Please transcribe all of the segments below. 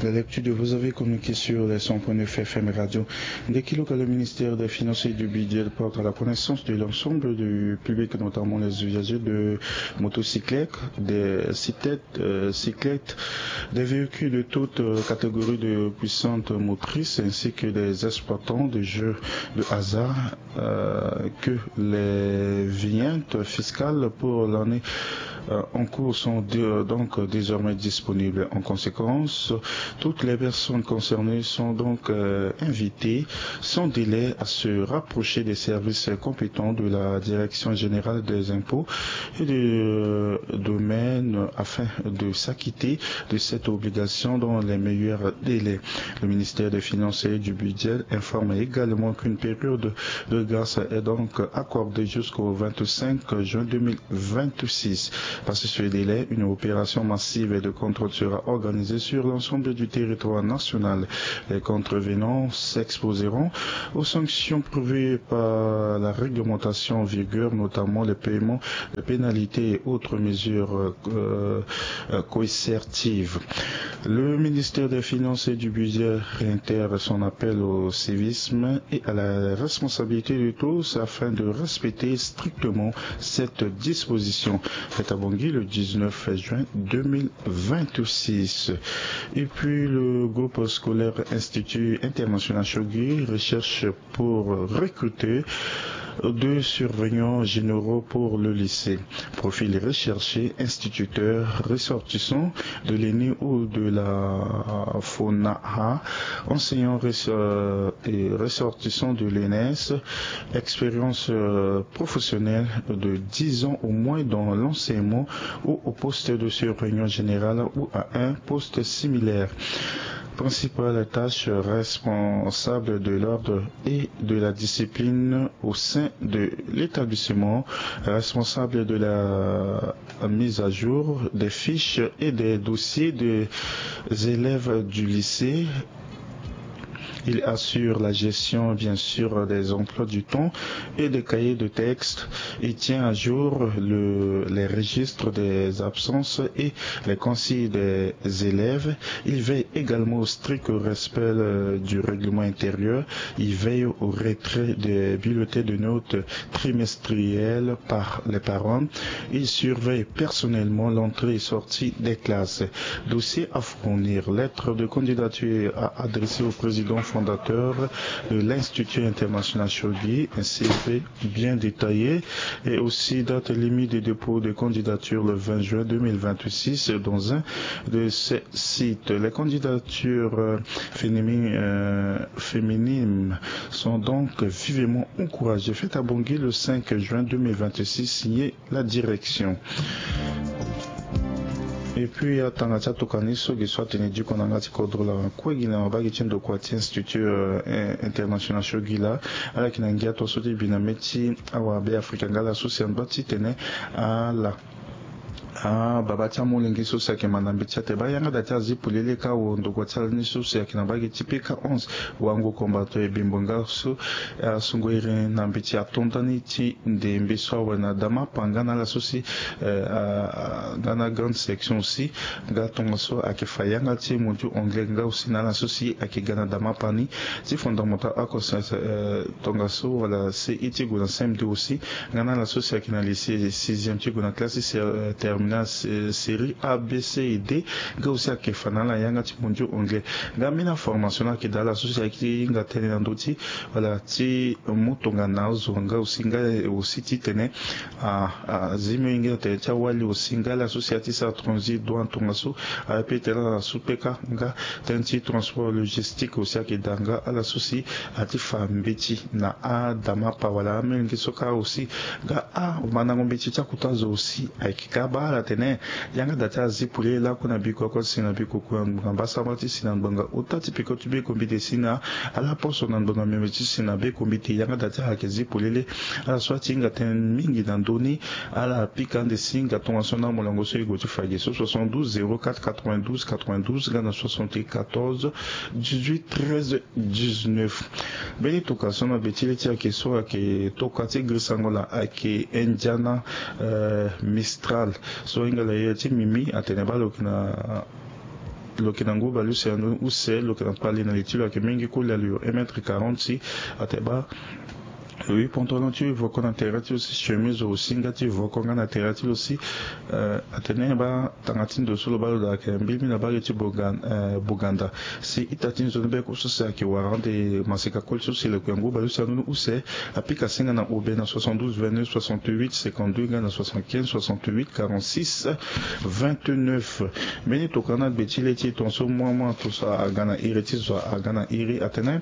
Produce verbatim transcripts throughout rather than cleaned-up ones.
La lecture de vos avis communiqués sur les cent point neuf F M Radio. Dès qu'il le ministère des Finances et du Budget porte à la connaissance de l'ensemble du public, notamment les usagers de motocyclettes, des cyclettes, euh, cyclettes, des véhicules de toute euh, catégorie de puissantes motrices, ainsi que des exploitants de jeux de hasard, euh, que les vignettes fiscales pour l'année euh, en cours sont dé- donc désormais disponibles. En conséquence, toutes les personnes concernées sont donc euh, invitées sans délai à se rapprocher des services compétents de la Direction générale des impôts et des euh, domaines afin de s'acquitter de cette obligation dans les meilleurs délais. Le ministère des Finances et du Budget informe également qu'une période de grâce est donc accordée jusqu'au vingt-cinq juin deux mille vingt-six. Passé ce délai, une opération massive de contrôle sera organisée sur l'ensemble du territoire national. Les contrevenants s'exposeront aux sanctions prévues par la réglementation en vigueur, notamment les paiements de pénalités et autres mesures euh, euh, coercitives. Le ministère des Finances et du Budget réitère son appel au civisme et à la responsabilité de tous afin de respecter strictement cette disposition. Faite à Bangui le dix-neuf juin deux mille vingt-six. Et puis le groupe scolaire Institut International Shogui recherche pour recruter deux surveillants généraux pour le lycée. Profil recherché, instituteur, ressortissant de l'ENI ou de la FONAHA, enseignant res- euh, et ressortissant de l'ENS, expérience euh, professionnelle de dix ans au moins dans l'enseignement ou au poste de surveillant général ou à un poste similaire. Principale tâche, responsable de l'ordre et de la discipline au sein de l'établissement, responsable de la mise à jour des fiches et des dossiers des élèves du lycée. Il assure la gestion, bien sûr, des emplois du temps et des cahiers de texte. Il tient à jour le- les registres des absences et les consignes des élèves. Il veille également au strict respect euh, du règlement intérieur. Il veille au retrait des bulletins de notes trimestriels par les parents. Il surveille personnellement l'entrée et sortie des classes. Dossier à fournir. Lettre de candidature à adresser au président fondateur de l'Institut international Shogui, un C V bien détaillé, et aussi date limite de dépôt de candidature le vingt juin deux mille vingt-six dans un de ces sites. Les candidatures euh, féminines, euh, féminines sont donc vivement encouragées. Faite à Bangui le cinq juin deux mille vingt-six, signé la direction. Et puis atanga ti atokani so gi so atene diko na yanga ti kodro laa, kue gi na mabage ti ndokua ti Institut euh, international Shogui laa, ala yeke na ngia tongaso ti bi na mê ti awa Beafrika nga ala so si angba titene ala ababa ti amolenge so si ayeke ma na mbeti ate baa yanga daa ti azi polele ka awo ndokua ti ala ni so si ayeke na mbage ti P K onze, wango combattant ebembo nga so asungo iri na mbeti ato ndani ti ndembe so awe na damapa nga na ala so si eh, ah, nga na grande section aussi. Nga tongaso ayeke fa yanga ti mondiaux anglais nga aussi na ala so si ayeke ga na damapa ni ti fondamental a conscience eh, tongaso wala C E ti gue na C M deux aussi. Nga na ala so si ayeke na lycée sixième ti gue na classe ti sé- eh, terminale sé- série A B C et D. Nga aussi ayeke fa na ala yanga ti mondiaux anglais. Nga ambeni aformation ni ayeke daa ala so si ayeke ti hinga tënë na ndö ti wala ti mu tongana azo nga aussi nga aussi titene a, a, zi mio hinga tene ti awali aussi nga ala so si ati sara transit douane tongaso. Aye pe tene ala so pe ka nga tënë ti transport logistique aussi ayeke daa nga ala so si ati fa mbeti na adamapa wala amolenge so ka aussi nga a mandango mbeti ti akota zo aussi ayeke ka baa ala tene yanga daa ti azi polele lakue na bikua kue si na bikua kue na ngbonga mbasamba ti si na ngbonga ota ti peko ti be kombite si na ala poso na ngbonga miombe ti si na be kombite yanga daa ti ala yeke zi polele. Ala so ati hinga tënë mingi na ndö ni ala pika ande si nga tongaso na molongo so e gue ti fa gi so soixante-douze zéro quatre quatre-vingt-douze quatre-vingt-douze nga na soixante-quatorze dix-huit treize dix-neuf. Mbeni tokua so na be ti le ti ayeke so ayeke tokua ti girisango laa ayeke Indiana eh, Mistral so ahinga la ye ti mimi atene baa lo yeke na lo yeke na ngu baleuse na ndoni use, lo yeke na pali na li ti lo ayeke mingi koli, alo yo un mètre quarante si. Atene baa lo yu pantalon ti voko na tere ti lo si, chemise aussi nga ti voko nga na tere ti lo si. Atene baa tanga ti ndo so lo baa lo daa ayeke mbi mbi na mbage ti Bouganda si ita ti nzoni beko so si ayeke wara ande maseka koli so si lo yeke na ngu baleuse na ndoni use. Apika singa na obe na soixante-douze vingt-neuf soixante-huit cinquante-deux nga na soixante-quinze soixante-huit quarante-six vingt-neuf. Mbeni tokana gbe ti le ti tongaso mua mua tongaso aga na iri ti zo aga na iri atene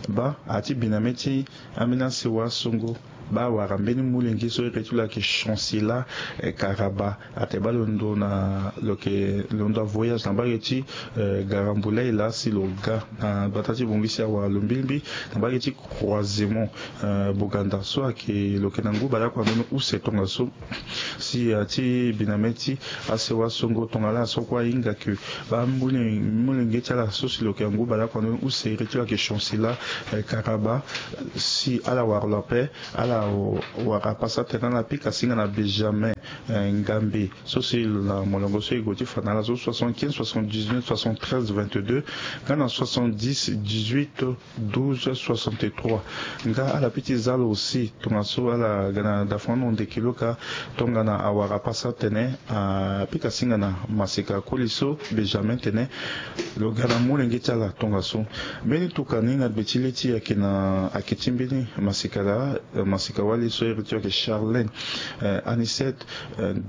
baa ati biname ti ambeni asewa songo baa awara mbeni molenge so iri ti lo ayeke Chancela Karaba. Atene baa lo ndo na lo yeke lo ndo avoyage na mbage ti Garambulay laa si lo ga na gbata ti Bangui si awara lo mbilimbi na mbage ti Croisemont Bouganda so ayeke lo yeke na ngu baleoko na ndoni use tongaso. Si ati biname ti asewa songo tongana laa so kue ahinga ke baa mole molenge ti ala so si lo yeke na ngu baleoko na ndoni use iri ti lo ayeke Chancela Karaba si ala wara lo ape. Ala wara apasa tene ala pika singa na Benjamin Ngambe so si lo na molongo so e gue ti fa na ala so soixante-quinze soixante-dix-neuf soixante-treize vingt-deux nga na soixante-dix dix-huit douze soixante-trois. Nga ala pe ti za lo aussi tongaso ala ga na dafano ndeke lo ka tongana awara apasa tene apika singa na maseka koli so Benjamin tene lo ga na molenge ti ala tongaso. Mbeni tuka ni na gbe ti le ti ayeke na ayeke ti mbeni maseka laa maseka wali so iri ti lo ayeke Charlène Anicet.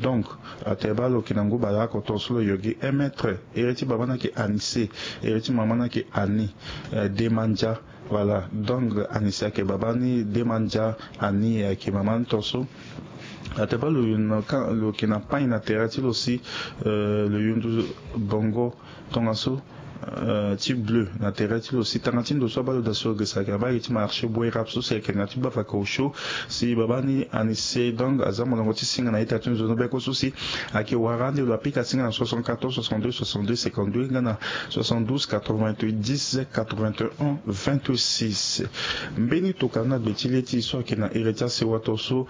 Donc atene baa lo yeke na ngu baleoko tongaso lo yo gi un mètre. Iri ti baba ni ayeke Anise. Iri ti mama ni ayeke Annie Demandia. Voilà donc Anise ayeke baba ni, Demandia Annie ayeke mama ni tongaso. Atene baa lo yeke na pagne na tere ti lo si lo yundu bongo tongaso ti bleu na tere ti lo si tanga ti ndo so abaa lo daa si lo gesa ayeke na mbage ti marché Boerap so si ayeke na ti bafaka osio. Si baba ni Anise donc aza molongo ti singa na ita ti nzoni beko so si ayeke wara ande lo apika singa na soixante-quatorze soixante-deux soixante-deux cinquante-deux nga na soixante-douze quatre-vingt-dix quatre-vingt-un vingt-six. Mbeni tokana na gbe ti le ti so ayeke na iri ti asewa tongaso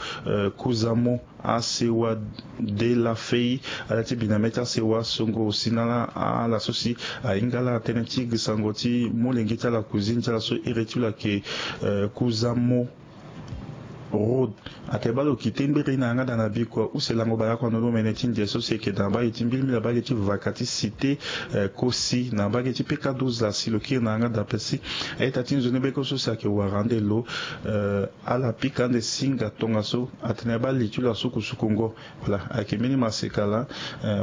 Kuzamo asewa de la fei. Ala ti biname ti asewa songo aussi na ala ala so si ahinga ala tënë ti gisango ti molenge ti ala cousine ti ala so iri ti lo ayeke Kuzamo Road. Atene baa lo kite ngbiri na yanga daa na bikua use lango baleoko na ndoni omene ti ndia so si ayeke na mbage ti mbilimbi na mbage ti vaka ti cité kosi na mbage ti peka douze laa si lo kiri na yanga daa ape si a-ita ti nzoni beko so si ayeke wara ande lo ala pika ande singa tongaso. Atene baa li ti lo asukusukungo. Voilà ayeke mbeni maseka laa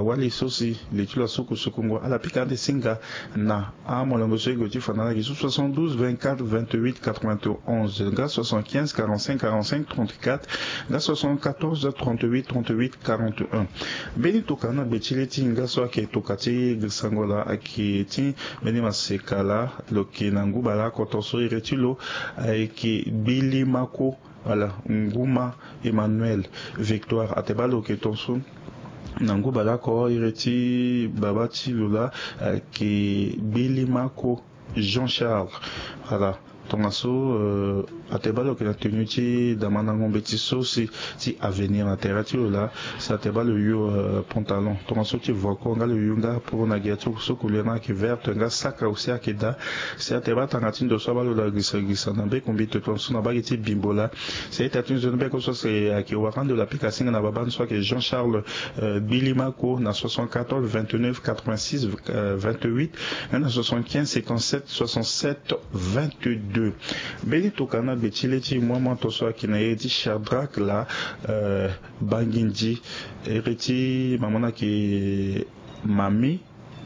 wali so si li ti lo asukusukungo ala pika ande singa na amolongo so e gue ti fa na ala gi so soixante-douze vingt-quatre vingt-huit quatre-vingt-onze nga soixante-quinze quarante-cinq quarante-cinq trente-quatre nga soixante-quatorze trente-huit trente-huit quarante-un. Mbeni tokana na gbe ti le ti hinga so ayeke toka ti gisango laa ayeke ti mbeni maseka laa lo yeke na ngu baleoko tongaso iri ti lo ayeke Gbilimako. Voilà Nguma Emmanuel Victoire atene baa lo yeke tongaso na ngu baleoko iri ti baba ti lo laa ayeke Gbilimako Jean Charles. Voilà tongaso atene baa lo yeke na tenue ti damandango mbeti so si ti avenir na tere ti lo laa. Si atene baa lo yu pantalon tongaso ti voko nga lo yu nga poro na gere ti lo so couleur ni ayeke verte nga saka aussi ayeke daa. Si atene baa tanga ti ndo so abaa lo daa girisa girisa na mbeko mbito tongaso na mbage ti bimbo laa. Si a-ita ti nzoni beko so si ayeke wara ande lo apika singa na baba ni so ayeke Jean Charles Gbilimako na soixante-quatorze vingt-neuf quatre-vingt-six vingt-huit nga na soixante-quinze cinquante-sept soixante-sept vingt-deux. Mbeni tokana na gbe ti le ti moi moi tongaso ayeke na iri ti Shadrack laa Bangindi. Iri ti mama ni ayeke Mami.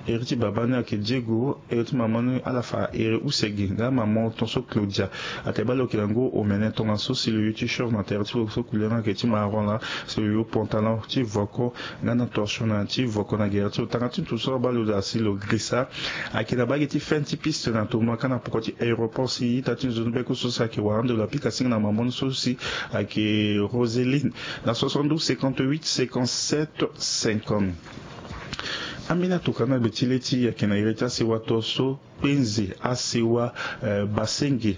Iri ti baba ni ayeke Diego. Iri ti mama ni ala fa iri use gi nga mama tongaso Claudia. Atene baa lo yeke na ngu omene tongaso si lo yu ti short na tere ti lo so couleur ni ayeke ti marron laa si lo yu pantalon ti voko nga na torchon na ti voko na gere ti lo tanga ti ndo so abaa lo daa si lo girisa. Ayeke na mbage ti fin ti piste na tournoi ka na poko ti aéroport si ita ti nzoni beko so si ayeke wara ande lo apika singa na mama ni so si ayeke Roseline na soixante-douze cinquante-huit cinquante-sept cinquante. Ambeni atokana na gbe ti le ti e ayeke na iri ti asewa tongaso kpenze asewa basenge.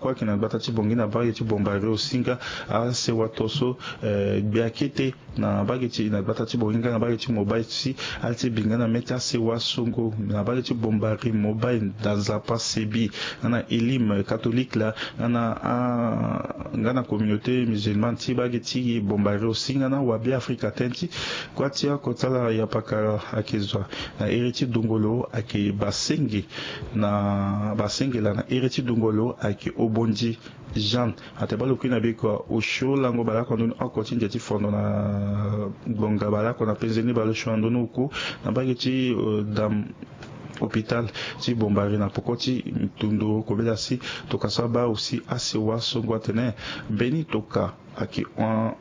Kue ayeke na gbata ti Bangui na mbage ti Bombari aussi nga asewa tongaso. Gbia kete na mbage ti na gbata ti Bangui nga na mbage ti Mobay si ala ti bi nga na mê ti asewa songo na mbage ti Bombari, Mobay, Nzapa, Sebi, nga na Elim, Catholique la, nga na nga na communauté musulmane ti mbage ti Bombari aussi nga na Wabi Afrika tënë ti kua ti oko ti ala yapakara ayeke zo na iri ti dungo lo ayeke basenge. Na basenge laa na iri ti dungo lo ayeke Obondi Jeanne. Atene baa lo kui na biko osio lango baleoko na ndoni oko ti nze ti fondo na ngbonga baleoko na penze ni baleosio na ndoni oku na mbage ti dam hôpital ti Bombari na poko ti nduru kobela si tongana so abaa aussi asewa songo atene mbeni tongana ayeke hon.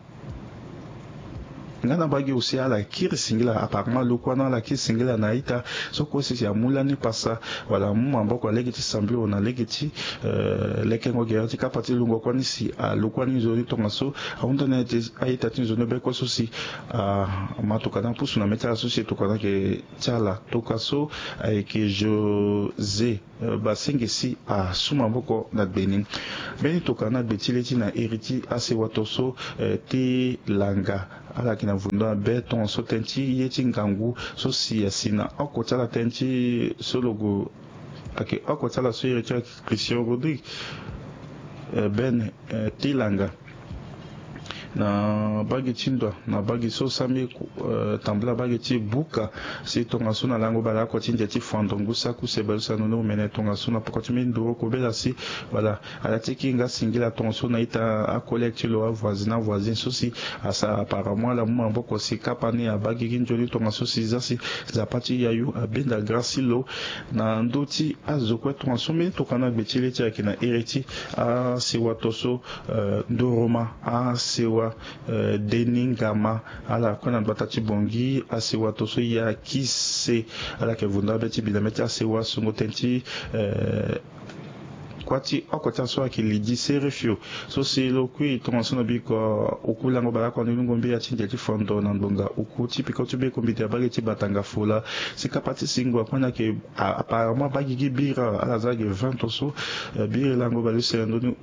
Nga na mbage aussi ala kiri singila apparemment lo kue na ala kiri singila na a-ita so kue si si amu lani pasa. Wala amu maboko na lege ti sambilo na lege ti lekengo gere ti kapa ti lungo kue ni si alo kue ni nzoni tongaso ahunda na ye ti a-ita ti nzoni be kue so si ama tokana apusu na mê ti ala so si tokana ayeke ti ala tongana so ayeke José. Basenge si asu maboko na gbe ni. Mbeni tokana na gbe ti le ti na iri ti asewa tongaso ti langa ala yeke na vundu na be tongaso tënë ti ye ti ngangu so si asi na oko ti ala tënë ti so lo gue ayeke oko ti ala so iri ti ala ayeke Christian Rodrigue. Bene ti langa na mbage ti ndoa na mbage so sambi tambula mbage ti buka si tongaso na lango baleoko ti nze ti fondo ngu saku se baleuse na ndoni omene tongaso na poko ti mbeni nduru kobela si wala ala ti kiri nga singila tongaso na ita acollègue ti lo avoisine avoisine so si asara apparemment ala mu maboko si kapa ni abaa gigi nzoni tongaso si za si Nzapa ti yayu abenda grâce ti lo na ndö ti azo kue tongaso mbeni tokana na gbe ti le ti ayeke na iri ti asewa tongaso. Ndoroma asewa Denis Ngama ala kue na gbata ti Bangui asewa tongaso ya kise ala yeke vunda be ti bi na mê ti asewa songo tënë ti kua ti oko ti aso ayeke Lydie Serefio so si lo kui tongaso na biko oku lango baleoko na ndoni ngombe ya ti nze ti fondo na ngbonga oku ti peko ti be kombite abaa gigi ti batanga fola si kapa ti singo akue na yeke apparemment abaa gigi bira ala za ge vingt tongaso. Biri lango baleuse na ndoni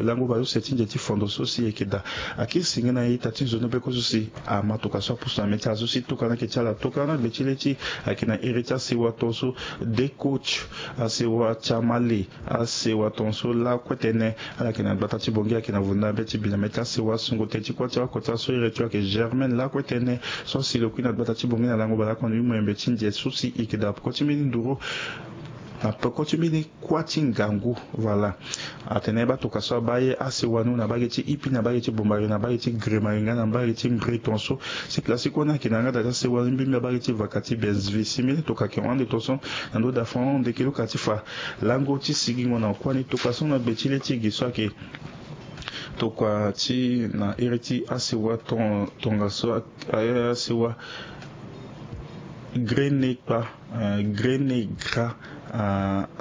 lango baleuse ti nze ti fondo so si ayeke daa akiri singe na a-ita ti nzoni be kue so si ama tokana so apusu na mê ti ala so si tokana ayeke ti ala tokana na gbe ti le ti ayeke na iri ti asewa tongaso. De coach asewa chamale asewa tongaso lakue tënë ala yeke na gbata ti Bangui ayeke na vundu na be ti bi na mê ti asewa songo tënë ti kua ti oko ti aso iri ti lo ayeke Germaine lakue tënë so si lo kui na gbata ti Bangui na lango baleoko na ndoni moyembe ti nze so si e yeke daa peko ti mbeni nduru na peko ti mbeni kua ti ngangu. Voilà. Atene baa tokana so abaa ye asewa ni na mbage ti Ipi na mbage ti Bombari na mbage ti Gremari nga na mbage ti Mbri tongaso si classe kue ni ayeke na yanga daa ti asewa ni mbimbi abaa gigi ti vaka ti Bensvi si mbeni tokana ayeke hon ande tongaso na ndö daa fo hon ande kilo ka ti fa lango ti sigingo na kue ni tokana so na gbe ti le ti gi so ayeke tokua ti na iri ti asewa tongaso asewa grenekpa grenegra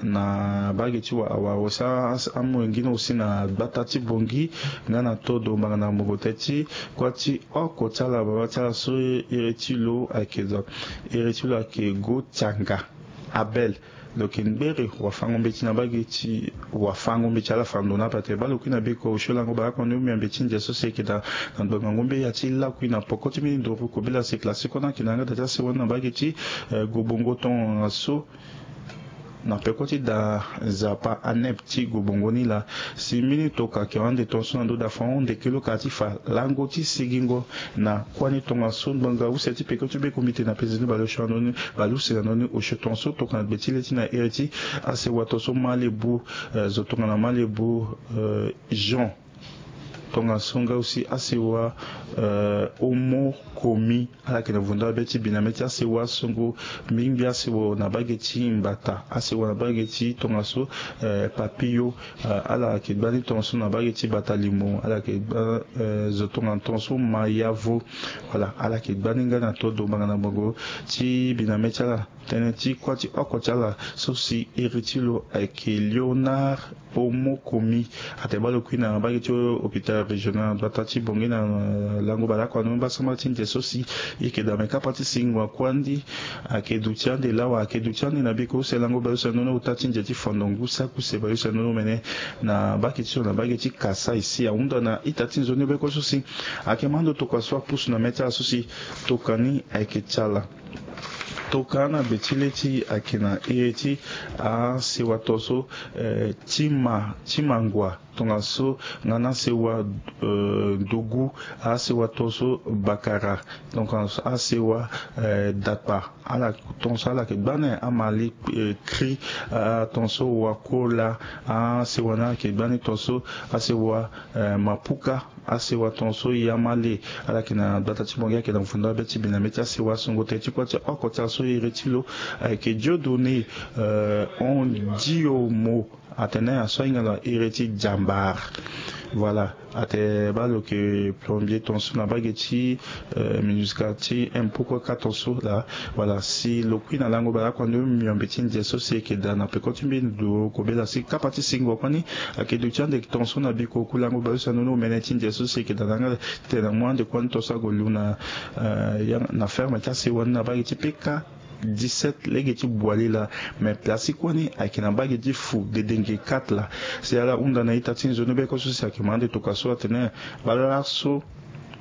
na mbage ti wa awa awe si amolenge ni aussi na gbata ti Bangui nga na todo mbanga na mongo tënë ti kua ti oko ti ala baba ti ala so iri ti lo ayeke zo iri ti lo ayeke Go Tianga Abel. Lo yeke ngbere wafango mbeti na mbage ti wafango mbeti ala fa ndo na ape atene baa lo kui na biko osio lango baleoko ni omiambe ti nze so si ayeke daa na ngbonga ngombe ya ti lakui na poko ti mbeni nduru kobela si classe kue ni ayeke na yanga daa ti asewa ni na mbage ti gobongo tongaso na peko ti daa Nzapa anep ti gobongo ni laa si mbeni tokana ayeke hon ande tongaso na ndö daa fo hon ande kilo ka ti fa lango ti sigingo na kua ni tongaso ngbonga use ti peko ti be kombite na penze ni baleosio na ndoni baleuse na ndoni osio tongaso tokana gbe ti le ti na iri ti asewa tongaso Malebu zo tongana Malebu Jean tongaso nga aussi asewa Omo Komi ala yeke na vundu abe ti bi na mê ti asewa songo mbingbi asewa na mbage ti Mbata asewa na mbage ti tongaso Papillon ala yeke gbani tongaso na mbage ti Batalimo ala yeke gbani zo tongana tongaso Mayavo. Voilà ala yeke gbani nga na todo mbanga na mbongo ti bi na mê ti ala tënë ti kua ti oko ti ala so si iri ti lo ayeke Léonard Omo Komi atene baa lo kui na mbage ti hôpital régional na gbata ti Bangui na lango baleoko anu mbasamba ti nze so si e yeke daa me kapa ti singo akuandi. Ayeke duti ande lawa, ayeke duti ande na biko use lango baleuse nono ota ti nze ti fondongu saki use baleuse nono mene na mbage ti so na mbage ti Kasaï si ahunda na ita ti nzoni beko so si ayeke ma ndo tokua so apusu na mê ti ala so si tokua ni ayeke ti ala. Tokua na gbe ti le ti ayeke na iri ti asewa tongaso, eh, ti ma ti mangua tongaso nga na asewa, eh, ndugu, asewa tongaso bakara, donc asewa, eh, dakpa ala tongaso ala yeke gbani amali, eh, kri, ah, tongaso wakola, asewa ni ala yeke gbani tongaso asewa, eh, mapuka, asewa tongaso yamale ala yeke na gbata ti Bangui ayeke na fundo abe ti bi na mê ti asewa songo tene ti kua ti oko ti ala so iri ti lo ayeke Dieudonné, eh, Ondiomo. Atene aso ahinga na iri ti jambar. Voilà. Ate baa lo yeke plombier tongaso na mbage ti, eh, MINUSCA ti impôt kue kâ tongaso laa. Voilà, si lo kui na lango baleoko anu miombe ti nze so si e yeke daa na peko ti mbeni ndo kobela si kapa ti singo kue ni ayeke duti ande tongaso na biko ku lango baleuse nono mene ti nze so si e yeke daa na yanga titene na mu ande kue ni tongaso ague lu na, eh, yanga na ferme ti asewa ni na mbage ti peka dix-sept lege ti Boualila. Me place ti kue ni ayeke na mbage ti Fou Dedenge quatre laa. Si ala hunda na ita ti nzoni beko so si ayeke ma ande tokua so atene baa laso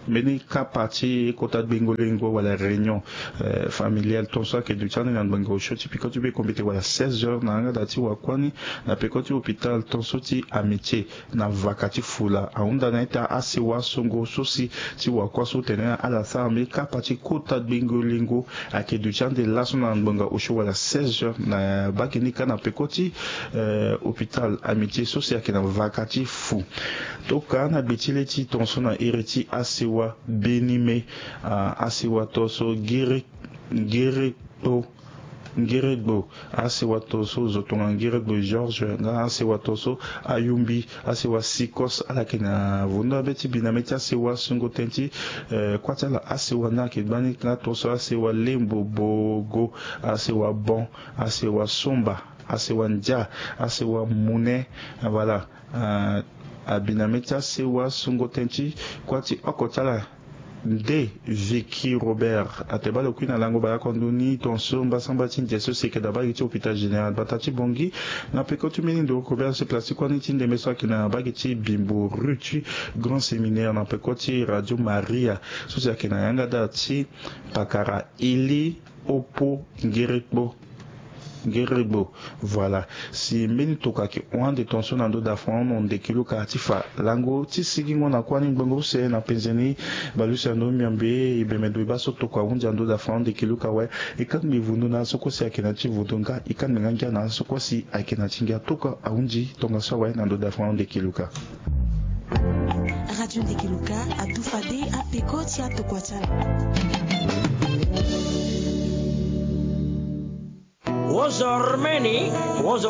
mbeni kapa ti kota gbengo lengo wala réunion, eh, familiale tongaso ayeke duti ande na ngbonga osio ti peko ti be kombite wala seize heures na yanga daa ti wakua ni na peko ti hôpital tongaso ti Amitié. Na vaka ti fula ahunda na ita asewa songo so si ti wakua so tene ala sara mbeni kapa ti kota gbengo lengo ayeke duti ande laso na ngbonga osio wala seize heures na mbage ni kâ na peko ti, eh, hôpital Amitié so si ayeke na vaka ti fou. Tokua na gbe ti le ti tongaso na iri ti asewa Benimé, ah, asewa tongaso Ngiri Ngiri Kpo Ngiregbo, asewa tongaso zo tonga Ngiregbo Georges, nga asewa tongaso Ayumbi, asewa Sikos, ala yeke na vondo abe ti bi na mê ti asewa songo tene ti, eh, kua ti ala asewa ni ayeke gbani nga tongaso asewa Lembo Bogo, asewa Bon, asewa Somba, asewa Ndia, asewa Mune, voilà. Ah, abi na mê ti asewa songo tene ti kua ti oko ti ala Nde Vicky Robert ate baa lo kui na lango baleoko anu ni tongaso mbasamba ti nze so si e yeke daa mbage ti hôpital général gbata ti Bangui. Na peko ti mbeni ndo Robert so place ti kua ni ti ndembe so ayeke na mbage ti Bimbo rue ti Grand Séminaire na peko ti Radio Maria so si ayeke na yanga daa ti pakara Eli Opo Ngirekpo Ngiregbo. Voilà. Si mbeni tokua ayeke hon ande tongaso na ndo da Fran mo ndeki Luka ti fa lango ti sigingo na kuâ ni ngbongo use na penze ni. Baleuse ando miombe e bembe ndo e baa so tokua ahunzi ando da Fran ndeki Luka awe. E kangbi vundu na aso kue si ayeke na ya ti vundu nga e kangbi nga ngia na aso kue si ayeke na ya ti ngia. Tokua ahunzi tongaso awe na ndo da Fran ndeki Luka. Radio Ndeki Luka adu fade apeko ti atokua ti ala. Wozor meni, wozor